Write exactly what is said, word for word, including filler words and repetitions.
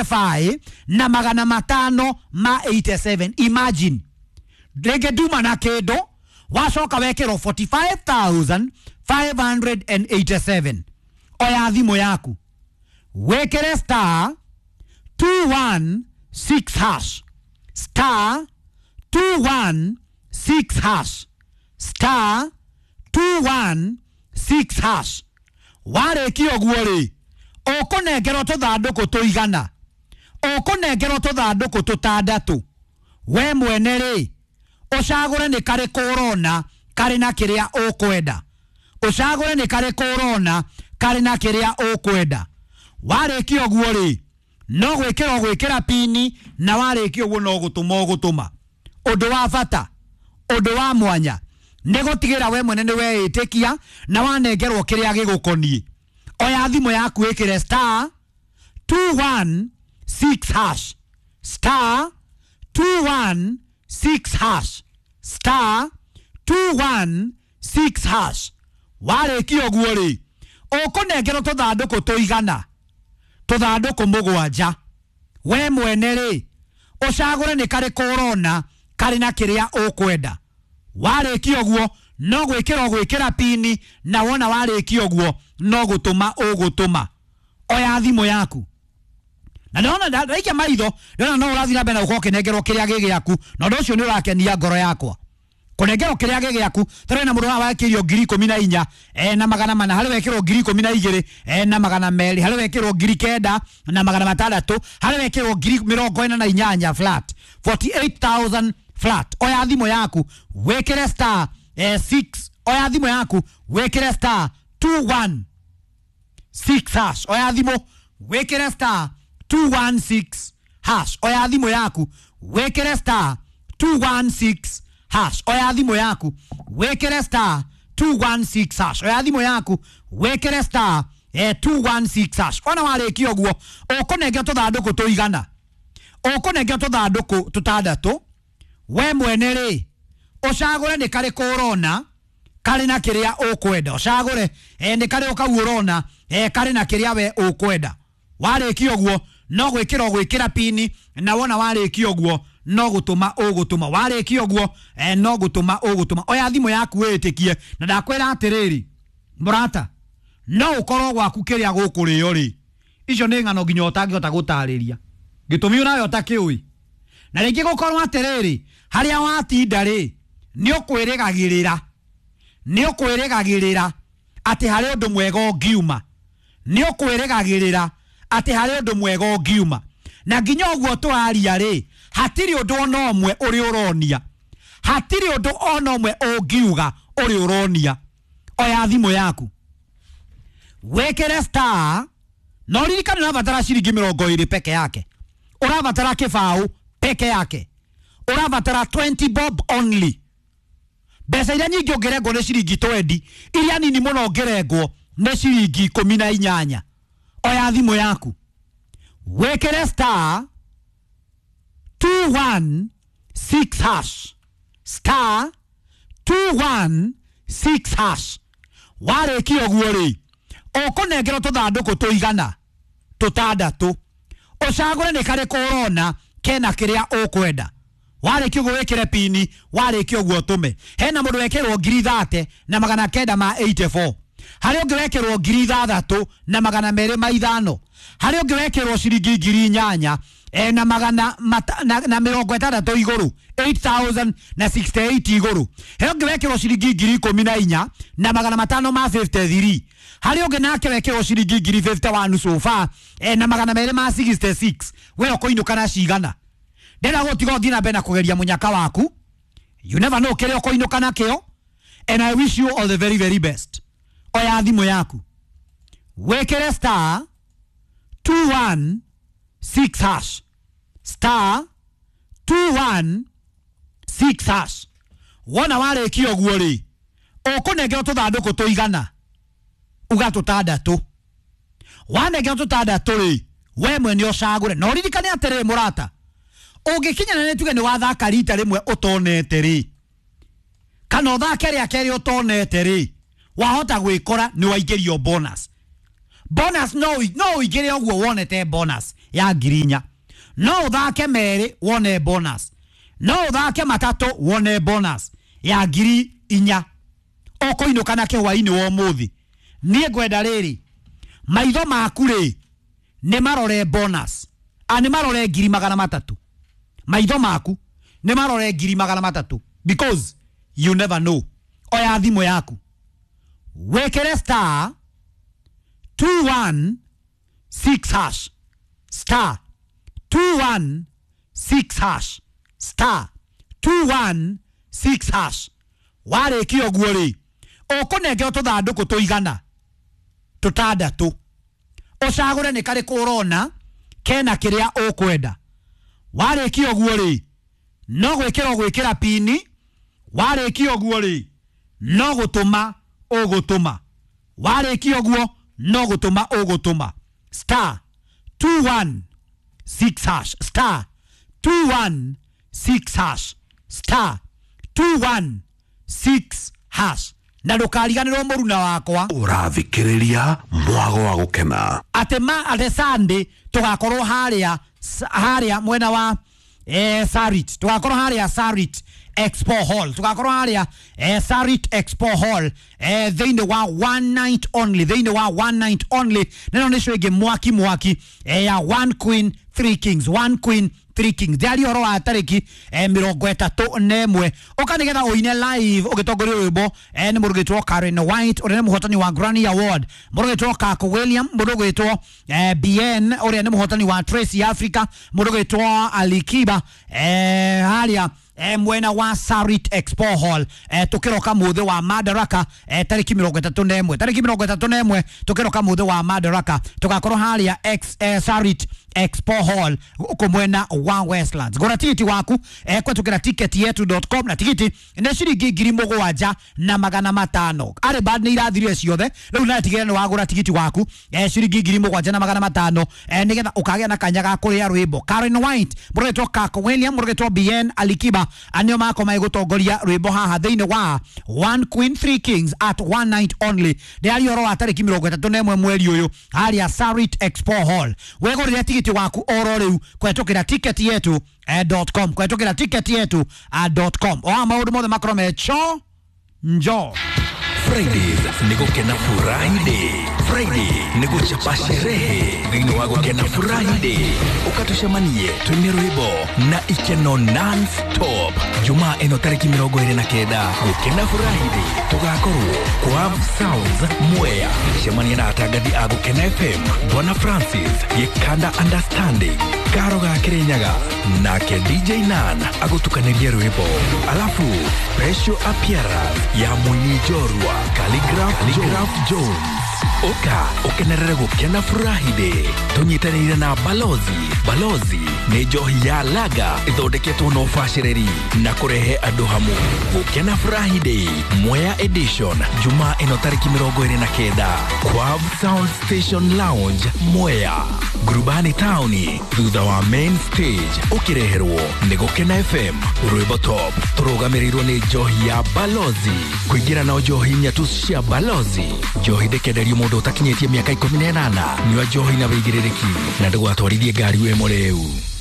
forty-five na magana matano ma eighty-seven. Imagine rĩngĩ nduma na kĩndũ wacoka wekĩrwo forty-five thousand five hundred eighty-seven. Oya thimũ yaku wĩkĩre star two one six hash star two one six hash star two one six hash. Warĩkia ũguo rĩ, ũkũnengerwo tũthandũkũ tũigana, ũkũnengerwo tũthandũkũ tũtandatũ. We mwene rĩ, ũcagũre nĩ karĩkũ ũrona karĩ na kĩrĩa ũkwenda, ũcagũre nĩ karĩkũ ũrona karĩ na kĩrĩa ũkwenda. Warĩkia ũguo rĩ, no gwĩkĩra ũgwĩkĩra pini, na warĩkia ũguo no gũtũma ũgũtũma. Ũndũ wa bata, ũndũ wa mwanya nĩ gũtigĩra we mwene nĩ weĩtĩkia na wanengerwo kĩrĩa gĩgũkoniĩ. Oya thimũ yaku ĩkĩre star two one six hash star two one six hash star two one six hash. Warĩkia ũguo rĩ, ũkũnengerwo tũthandũkũ tũigana, tũthandũkũ mũgwanja. We mwene rĩ, ũcagũre nĩ karĩkũ ũrona karĩ na kĩrĩa ũkwenda. Warĩkia ũguo no gwĩkĩra ũgwĩkĩra pini, na wona warĩkia ũguo no gũtũma ũgũtũma. Oya thimũ yaku na ndona ndaikia maitho ndona no ũrathiĩ na mbere na gũkorwo ũkĩnengerwo kĩrĩa gĩ gĩaku, na ũndũ ũcio nĩ ũrakenia ngoro yakwa. Kũnengerwo kĩrĩa gĩ gĩaku tarĩ na mũndũ haha wekĩrio ngiri ikũmi na inya eh, na magana mana, harĩ wekĩrwo ngiri ikũmi na igĩrĩ eh, na magana merĩ, harĩ wekĩrwo ngiri kenda na magana matandatũ, harĩ wekĩrwo ngiri mĩrongo ĩna na inyanya flat, forty-eight thousand flat. Oya thimũ yaku wĩkĩre star eh, six. Oya thimũ yaku wĩkĩre star two one six hash. Oya thimũ wĩkĩre star two one six hash. Oya thimũ yaku wĩkĩre star two one six hash. Oya thimũ yaku wĩkĩre star two one six hash. Oya thimũ yaku wĩkĩre star eh, two one six hash. Ona warĩkia ũguo ũkũnengera tũthandũkũ tũigana, ũkũnengera tũthandũkũ tũtandatũ. We mwene rĩ, ũcagũre nĩ karĩkũ ũrona karĩ na kĩrĩa ũkwenda. Ũcagũre eh, nĩ karĩkũ kau ũrona eh, karĩ na kĩrĩa we ũkwenda. Warĩkia ũguo no gwĩkĩra ũgwĩkĩra pini, na wona warĩkia ũguo no gũtũma ũgũtũma. Warĩkia ũguo eh, no gũtũma ũgũtũma. Oya thimũ yaku wĩtĩkie, na ndakwĩra atĩrĩrĩ mũrata, no ũkorwo gwaku kĩrĩa gũkũrĩo rĩ, icio nĩ ng'ano nginya ũtangĩhota gũtarĩria, gĩtũmi ũnayo ũtakĩũĩ. Na rĩngĩ gũkorwo atĩrĩrĩ, harĩa watinda rĩ, nĩ ũkwĩrĩgagĩrĩra, nĩ ũkwĩrĩgagĩrĩra atĩ harĩ ũndũ mwega ũngiuma, nĩ ũkwĩrĩgagĩrĩra atĩ harĩ ũndũ mwega ũngiuma. Na nginya ũguo tũraria rĩ, hatirĩ ũndũ ona ũmwe ũrĩ ũronia, hatirĩ ũndũ ona ũmwe ũngiuga ũrĩ ũronia. Oya thimũ yaku wĩkĩre star, na ũririkane ũrabatara ciringi mĩrongo ĩrĩ peke yake, ũrabatara kĩbaũ peke yake, ũrabatara twenty bob only. Mbeca iria nyingĩ ũngĩrengwo nĩ ciringi twenty, iria nini mũno ũngĩrengwo nĩ ciringi ikũmi na inyanya. Oya thimũ yaku wĩkĩre star two one six hash star two one six hash. Warĩkia ũguo rĩ, ũkũnengerwo tũthandũkũ tũigana, tũtandatũ. Ũcagũre nĩ karĩkũ ũrona kena kĩrĩa ũkwenda. Warĩkia ũguo wĩkĩre pini, warĩkia ũguo ũtũme. Hena mũndũ wekĩrwo ngiri thate na magana kenda ma eighty-four, harĩ ũngĩ wekĩrwo ngiri ithathatũ na magana merĩ ma ithano, harĩ ũngĩ wekĩrwo ciringi ngiri inyanya eh, na magana mata, na, na mĩrongo ĩtandatũ igũrũ, eight thousand na sixty-eight igũrũ. He ũngĩ wekĩrwo ciringi ngiri ikũmi na inya na magana matano ma fifty-three, harĩ ũngĩ nake wekĩrwo ciringi ngiri fifty-one so far eh, na magana merĩ ma sixty-six. We ũkũinũka na cigana? Ndĩrenda gũtiga ũthiĩ na mbere na kũgeria mũnyaka waku. You never know kĩrĩa ũkũinũka nakĩo, and I wish you all the very very best. Oya thimũ yaku wĩkĩre star two one six hash star two one six hash. Wona warĩkia ũguo rĩ, ũkũnengerwo tũthandũkũ tũigana, uga tũtandatũ. Wanengerwo tũtandatũ rĩ, we mwene ũcagũre. Na ũririkane atĩrĩrĩ mũrata, ũngĩkinyana nĩ tuge nĩ wathaka rita rĩmwe ũtonete rĩ, kana ũthake rĩa kerĩ ũtonete rĩ, wahota gwĩkora nĩ waingĩrio bonus. Bonus no no ũingĩre ũguo wonete bonus ya ngiri inya. No ũthake merĩ wone bonus, no ũthake matatũ wone bonus ya ngiri inya. Ũkũinũka na kĩhwainĩ wa ũmũthĩ. Niĩ ngwenda rĩrĩ, maitho maku rĩ nĩ marore bonus, a nĩ marore ngiri magana matatũ. Maitho maku nĩ marore ngiri magana matatũ, because you never know. Oya thimũ yaku wĩkĩre star two one six hash, star two one six hash, star two one six hash. Warĩkia ũguo rĩ, ũkũnengerwo tũthandũkũ tũigana tũtandatũ, ũcagũre nĩ karĩkũ ũrona kena kĩrĩa ũkwenda. Warĩkia ũguo rĩ, no gwĩkĩra ũgwĩkĩra pini. Warĩkia ũguo rĩ, no gũtũma ũgũtũma. Warĩkia ũguo no gũtũma ũgũtũma. Star two one six hash, star two one six hash, star two one six hash. Na ndũkariganĩrwo mũruna wakwa, Ũrathikĩrĩria Mwago wa Gũkena. Atĩ ma atĩ Sunday tũgakorwo harĩa harĩa mwena wa eh, Sarit, tũgakorwo harĩa Sarit Expo Hall, tũgakorwo harĩa eh, Sarit Expo Hall eh, thĩinĩ wa one night only, thĩinĩ wa one night only. Neno nĩcio ĩngĩ mwaki mwaki eh, ya one queen three kings, one queen three kings. Ndĩaria ũhoro wa tarĩki eh, mĩrongo ĩtatũ na ĩmwe. Ũka nĩgetha ũine live ũgĩtongoria rwĩmbo eh, nĩ mũndũ ũgwĩtwo Karen White ũrĩa nĩ mũhotani wa Grammy Award, mũndũ ũgwĩtwo Kako William, mũndũ ũgwĩtwo eh, B N ũrĩa nĩ mũhotani wa Tracy Africa, mũndũ ũgwĩtwo Alikiba eh, harĩa eh, mwena wa Sarit Expo Hall eh, tukiroka muthi wa Madaraka eh, tariki mirongo itatu na ĩmwe, tariki mirongo itatu na ĩmwe tukiroka muthi wa Madaraka tugakorwo haria ex, eh, Sarit Expo Hall uko mwena wa Westlands. Gora tikiti waku eh, kwetukira ticket yetu dot com na tikiti nĩ ciringi ngiri mũgwanja na magana matano. Arĩ bad nĩ irathirire ciothe rĩu na tigĩrĩra nĩ wagũra tikiti waku eh, ciringi ngiri mũgwanja na magana matano eh, nĩgetha ũkagĩa na kanya ga kũrĩa rwĩmbo. Karen White, mũrũgĩtwo Kako William, mũrũgĩtwo B N Alikiba anio mako megũtongoria rwĩmbo haha thĩinĩ wa One Queen Three Kings at one night only. Ndĩraria ũhoro wa tarĩki mĩrongo ĩtatũ na ĩmwe mweri ũyũ harĩa Sarit Expo Hall. Wegũrĩre tigiti waku oro rĩu kwetukira ticket yetu eh, dot com, kwetukira ticket yetu eh, dot com. Oa maũndũ mothe makorwo me cho njo. Fridays ni gukena Friday. Friday ni guchapa sherehe thĩinĩ wa gukena Friday. Ukatucemanie twine rwĩmbo na ikeno non stop. Jumaa ĩno tarĩki mĩrongo ĩrĩ na kenda gukena Friday tugakorwo kwa Sounds Mwea. Cemania na atangathi a Gukena F M, Bwana Francis Gikanda Understanding, Karo ga Kirinyaga nake D J Nan agutukanĩrie rwĩmbo, alafu special appearance ya mũini njorua Calligraph, Calligraph Jones. Oka ukenerere gukena Friday tunyitanĩire na Balozi. Balozi nĩ njohi ya laga ithondeketwo na ũbacĩrĩri na kũrehe andũ hamwe. Gukena Friday Mwea edition Jumaa ĩno tarĩki mĩrongo ĩrĩ na kenda Quav Sound Station Lounge Mwea, Ngurubani taũni thutha wa main stage, ũkĩreherwo nĩ Gukena F M. Rwĩmbo top tũrũgamĩrĩirwo nĩ njohi ya Balozi. Kũingĩra na njohi inya tu cia Balozi. Njohi ndĩkenderio mũndũ ũtakinyĩtie mĩaka ikũmi na ĩnana. Nyua njohi na wĩigĩrĩrĩki na ndũgatwarithie ngari wĩ mũrĩu.